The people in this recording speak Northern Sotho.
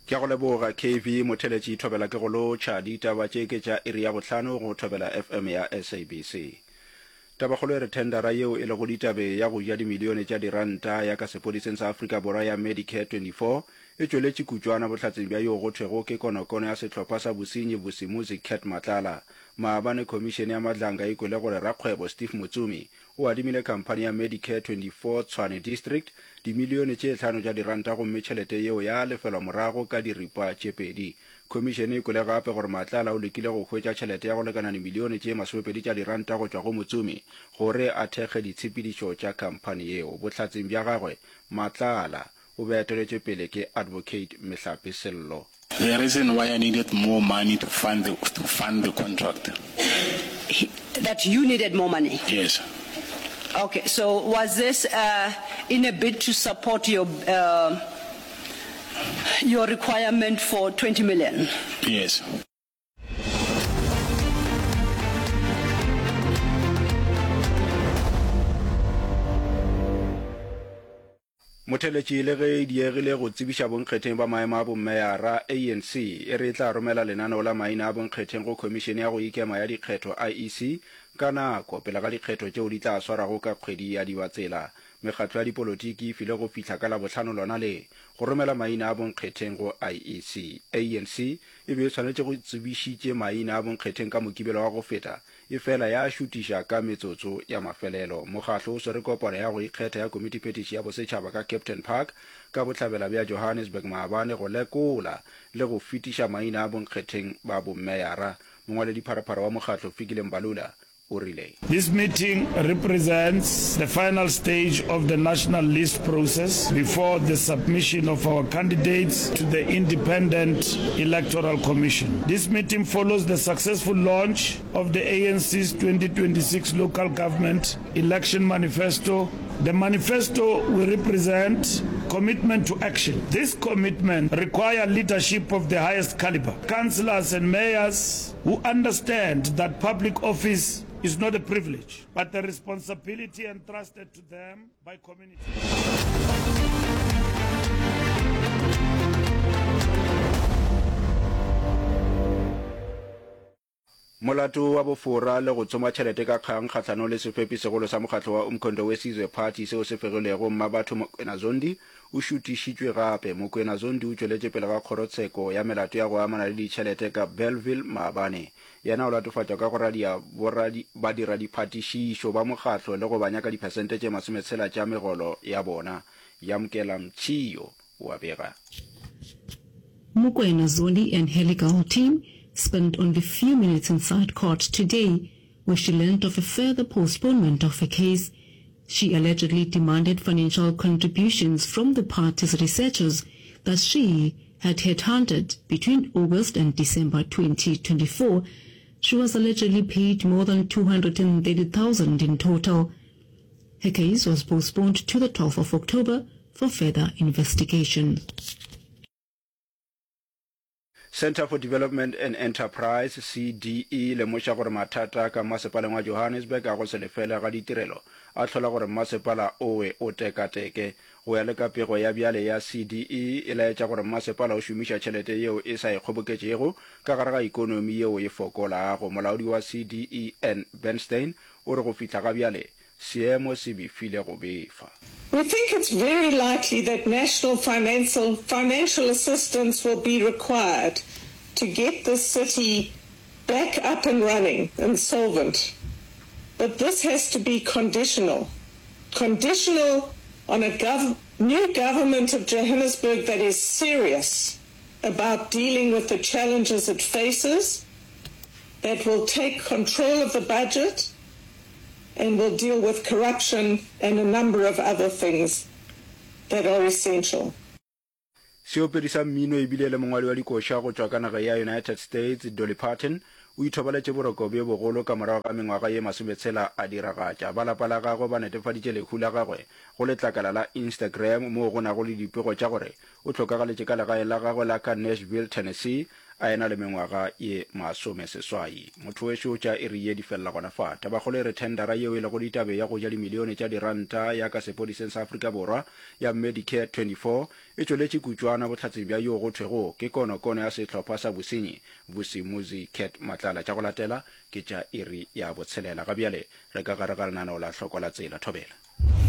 Ke a go leboga KV Motheletši Thobela ke go lotšha. Ditaba tše ke tša iri ya bohlano go Thobela FM ya SABC. Tabakgolo e re thendara yeo e lego ditabe ya go ja dimilione tša diranta ya ka sepodiseng sa Afrika Borwa ya Medicare 24 e tšweletše kutšwana bohlatseng bja yoo go thwego ke konokono ya sehlopha sa bosenyi Vusimuzi Cat Matlala. Maabane khomišene ya Madlanga e kwele gore rakgwebo Steve Motsumi o adimile khamphani ya Medicare 24 Tshwane District dimilione tše hlano tša diranta gomme tšhelete yeo ya lefelwa morago ka diripa tše pedi. Khomišene e kwele gape gore Matlala o lekile go hwetša tšhelete ya go lekana dimilione tše masomepedi tša diranta go tšwa go Motsumi gore a thekge ditshepedišo tša khamphani yeo. Bohlatseng bja gagwe, Matlala o be a eteletšwe pele ke Advocate Mehlape Sello. The reason why I needed more money to fund the, to fund the contract. He, that you needed more money? Yes. Okay, so was this uh, in a bid to support your, uh, your requirement for 20 million? Yes. Motheletši le ge e diegile go tsebiša bonkgetheng ba maemo a bommeyara, ANC e re e tla romela lenaneo la maina a bonkgetheng go Khomišene ya go Ikema ya Dikgetho, IEC, ka nako pele ga dikgetho tšeo di tla swarwago ka kgwedi ya Dibatsela. Mekgatlo ya dipolotiki e filwe go fihla ka Labohlano lona le go romela maina a bonkgetheng go IEC. ANC e be e swanetše go tsebišitše maina a bonkgetheng ka Mokibelo wa go feta Efela ya šutiša ka metsotso ya mafelelo. Mokgahlo o swere kopano ya go ikgetha ya Komitiphethiši ya Bosetšhaba ka Kempton Park ka bohlabela bja Johannesburg maabane go lekola le go fetiša maina a bonkgetheng ba bommeyara. Mongwaledipharephare wa mokgahlo Fikile Mbalula o rile. This meeting represents the final stage of the national list process before the submission of our candidates to the Independent Electoral Commission. This meeting follows the successful launch of the ANC's 2026 local government election manifesto. The manifesto will represent commitment to action. This commitment requires leadership of the highest caliber. Councillors and mayors who understand that public office is not a privilege, but a responsibility entrusted to them by community. Molato wa bofora le go tsoma tšhelete ka kgang kgahlanong le sefepi segolo sa mokgatlo wa Umkhonto we Sizwe Party seo se fegilwego Mmabatho Mokwena Zondi o šutišitšwe gape. Mokwena Zondi o tšweletše pele ga kgorotsheko ya melato ya go amana le ditšhelete ka Bellville maabane. Yena o latofatšwa ka go radia badiradiphatišišo ba mokgatlo le go ba nyaka diphesente tše masometshela tša megolo ya bona. Yamkela Mtshio o a bega. Mokwena Zondi and her legal team spent only few minutes inside court today where she learned of a further postponement of her case. She allegedly demanded financial contributions from the party's researchers that she had headhunted between August and December 2024. She was allegedly paid more than 230,000 in total. Her case was postponed to the 12th of October for further investigation. Centre for Development and Enterprise, CDE, e lemoša gore mathata ka mmasepaleng wa Johannesburg a go se lefele ga ditirelo a hlola gore mmasepala owe o tekateke. Go ya le ka pego ya bjale ya CDE, e laetša gore mmasepala o šomiša tšhelete yeo e sa e kgoboketšego ka gare ga ikonomi yeo e fokolago. Molaodi wa CDE, Ann Bernstein, o re go fihla ga bjale seemo se befile go befa. We think it's very likely that national financial financial assistance will be required to get this city back up and running and solvent. But this has to be conditional. Conditional on a gov new government of Johannesburg that is serious about dealing with the challenges it faces, that will take control of the budget and will deal with corruption and a number of other things that are essential. Seopedi sa mmino e bile le mongwadi wa dikoša go tšwa ka naga ya United States, Dolly Parton, o ithobaletše boroko bjo bogolo ka morago ga mengwaga ye masometshela a diragatša. Ba lapa la gagwe ba netefaditše lehu la gagwe go letlakala la Instagram moo go nago le dipego tša gore o hlokagaletše ka legaeng la gagwe la ka Nashville, Tennessee. a ena le mengwaga ye masomeseswai. Motho wešo tša iri ye di felela gona fa. Tabakgolo e re thendara yeo e lego ditabe ya go ja dimilione tša diranta ya ka sepodiseng sa Afrika Borwa ya Medicare 24 e tšweletše kutšwana bohlatseng bja yoo go thwego ke konokono ya sehlopha sa bosenyi Vusimuzi Cat Matlala. Tša go latela ke tša iri ya botshelela. Ga bjale re ka gare ga lenaneo la Hloko la Tsela. Thobela.